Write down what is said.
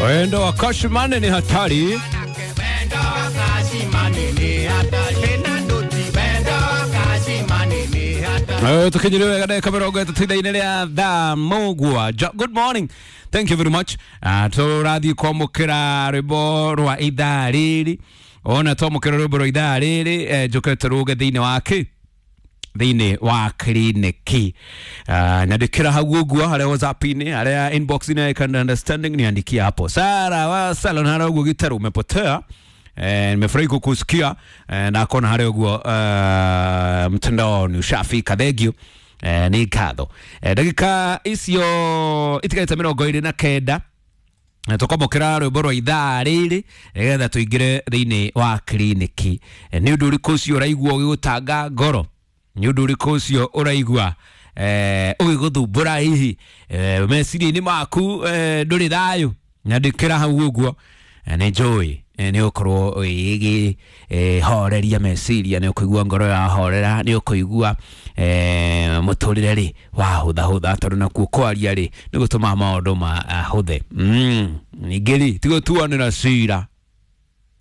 Wendo wa Kashmane ni hatari. Tukinyire wega ndagĩka 30 ithaa-inĩ rĩa thaa 7. Good morning, thank you very much. Tũrathiĩ kwamũkĩra rwĩmbo rwa ithaa rĩrĩ. Ona twamũkĩra rwĩmbo rwa ithaa rĩrĩ, njũke tũrũge thĩinĩ wa kĩ thĩinĩ wa kliniki. Nyandĩkĩra hau ũguo harĩa WhatsApp-inĩ, harĩa inbox-inĩ, I can understanding, niandikia hapo. Sara wa Salon harĩa ũguo gĩtarũ umepotea. Nimefurahi kukusikia, na kona harĩa ũguo mtandaoni ushafika. Thank you. Nĩ ngatho. Ndagĩka icio itigarĩte 29 tũkwamũkĩra rwĩmbo rwa ithaa rĩrĩ nĩgetha tũingĩre thĩinĩ wa kliniki. Nĩ ũndũ ũrĩkũ ũcio ũraigua ũgĩgũtanga ngoro? Nĩ ũndũ ũrĩkũ ũcio ũraigua ũgĩgũthumbũra hihi meciria-inĩ maku, ndũrĩ thayũ? Nyandĩkĩra hau ũguo. Nĩ njũĩ nĩ ũkorwo ũgĩhoreria meciria, nĩ ũkũigua ngoro yahorera, nĩ ũkũigua mũtũrĩre rĩ wahũthahũtha, tondũ nakuo kwaria rĩ nĩ gũtũmaga maũndũ mahũthe. Ningĩ rĩ ti gũtuanĩra cira.